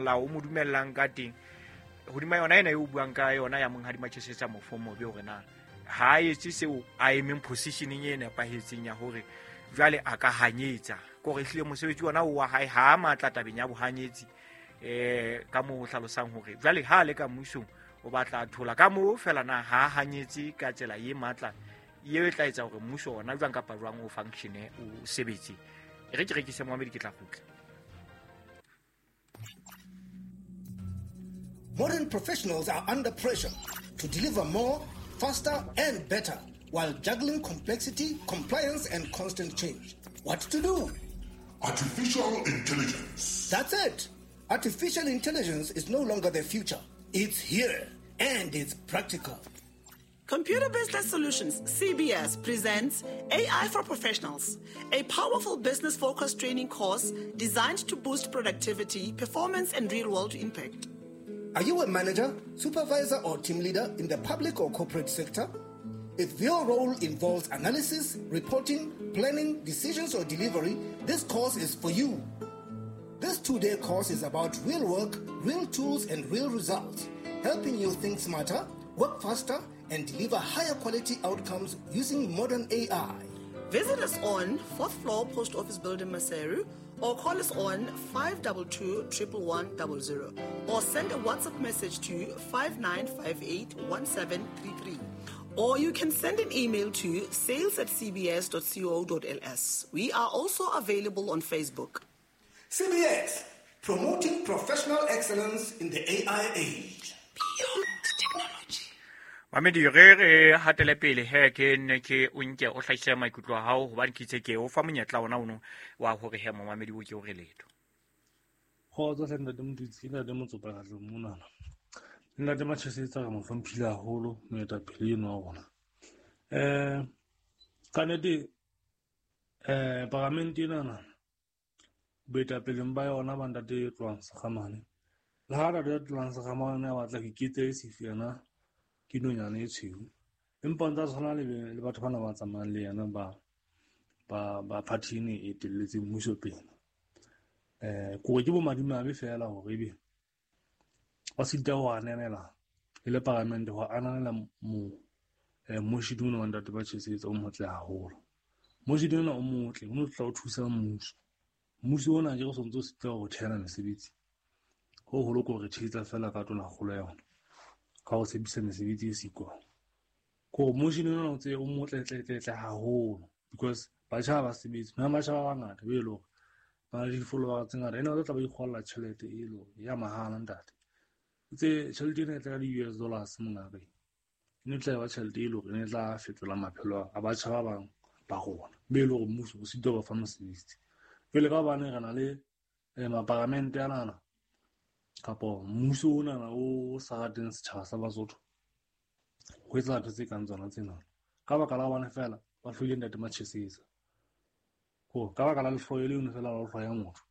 Molao o mo dumellang ka teng hodima yona ena e o buang ka yona ya Monghadi Machesetsa Mofomobe, hore na ha a etse seo a emeng positioneng e nepahetseng ya hore jwale a ka hanyetsa, ke hore ehlile mosebetsi ona o wa hae ha a matla tabeng ya bohanyetsi. Ka moo ho hlalosang hore jwale ha a le ka mmusong o batla a thola ka moo fela, na ha a hanyetse ka tsela e matla eo e tla etsa hore mmuso ona jwang kapa jwang o functione, o sebetse. E re ke rekise, momamedi, ke tla kgutla. Modern professionals are under pressure to deliver more, faster, and better while juggling complexity, compliance, and constant change. What to do? Artificial intelligence. That's it. Artificial intelligence is no longer the future. It's here and it's practical. Computer Business Solutions, CBS, presents AI for Professionals, a powerful business focused training course designed to boost productivity, performance, and real world impact. Are you a manager, supervisor, or team leader in the public or corporate sector? If your role involves analysis, reporting, planning, decisions, or delivery, this course is for you. This 2-day course is about real work, real tools, and real results, helping you think smarter, work faster, and deliver higher quality outcomes using modern AI. Visit us on 4th floor Post Office Building, Maseru, or call us on 522 11100 or send a WhatsApp message to 5958 1733. Or you can send an email to sales@cbs.co.ls. We are also available on Facebook. CBS, promoting professional excellence in the AI age. Beyond technology. Mamedi, re re hatele pele he, ke nne ke o nke o hlahise maikutlo a hao, hobane ke itse ke o fa monyetla ona ono wa hore he, momamedi, o ke o re letho. Kgotso hle, ntate Motutsi, ntate Motsopa katle monana. Ntate Machesetsa re mo hlomphile haholo, moetapele eno wa rona. Ka nnete paramente enana boetapeleng ba yona ba ntate Tlohang Sekgamane. Le ha ntate Tlohang Sekgamane a batla ho iketsa e sefi yena ke nonyana e tshweu, empa o ntsa tshwana le batho bana ba tsamayang le yena ba party ene e etelletseng mmuso pele. Kore ke bomadimabe feela hore ebe ba sita ho ananela e le paramente, ho ananela mo moshidi ona wa ntate ba Chesetsa o motle haholo. Moshidi ona o motle, o no tla o thusa mmuso. Mmuso ona ke re sontso o sita ho thehela mesebetsi. Ho holo ko re thetsa fela ka tona kgolo ya yona, ka ho tshepisa mesebetsi e siko. Ko moshidi ona o tse o motle tle tle tle haholo because batjha ba sebetsi, na batjha ba bangata be le hore ba le di-follower tse ngata, ene ba tla ba ikgolla tjhelete e le hore ya mahala ntate. Tse tjhelete ena e tla ka di-US dollars mongaka. E ne tla ba tjhelete e le hore e ne tla fetola maphelo a batjha ba bang ba rona, be le hore mmuso o sitwa ho ba fa mosebetsi. Jwale ka hobane re na le maparamente anana kapo mmuso onana o sa rateng setjhaba sa Basotho, ho etsa ntho tse kang tsona tsena. Ka baka la hobane feela ba hloile ntate Machesetsa. Ko ka baka la lehloyo leno feela la ho hloya motho,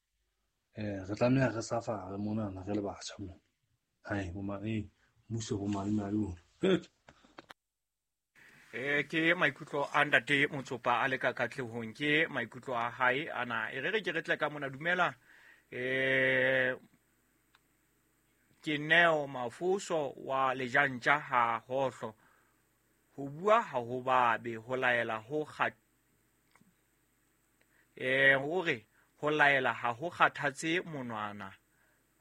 re tlameha re safare monana re le batjha mona. Hai, bo mmuso bo madimabe ona. Good. Ke maikutlo a ntate Motsopa a le ka katlehong, ke maikutlo a hae ana. E re re ke re tle ka mona, dumela. Ke Neo Mafoso wa Lejantja ha Hohlo. Ho bua ha ho babe, ho laela ho hore ho laela ha ho kgathatse monwana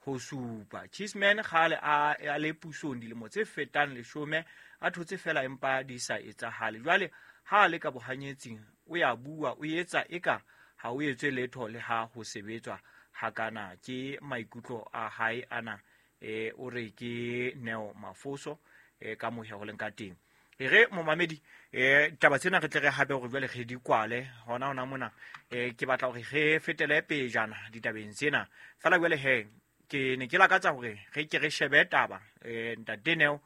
ho supa. Cheeseman kgale a le pusong dilemo tse fetang 10, a thotse fela empa di sa etsahale. Jwale ha a le ka bohanyetsing o ya bua, o etsa eka ha o etswe letho le ha ho sebetswa hakana. Ke maikutlo a hae ana. O re ke Neo Mafoso, ka mohe ho leng ka teng. E re momamedi, taba tsena re tle re hape hore jwale re di kwale hona hona mona. Ke batla hore re fetele pejana ditabeng tsena fela. Jwale he, ke ne ke lakatsa hore re ke re shebe taba, ntate Neo,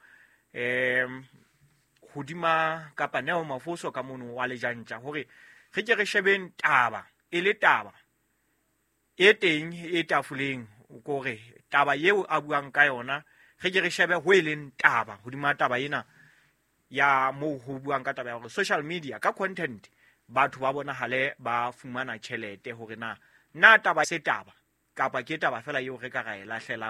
hodima kapa Neo Mafoso ka mono wa Lejantja, hore re ke re shebeng taba e le taba e teng e tafoleng, kore taba eo a buang ka yona re ke re shebe ho e leng taba hodima taba ena ya moo ho buang ka taba ya hore social media ka content batho ba bonahale ba fumana tjhelete, hore na taba se taba kapa ke taba fela eo re ka ra e lahlelang.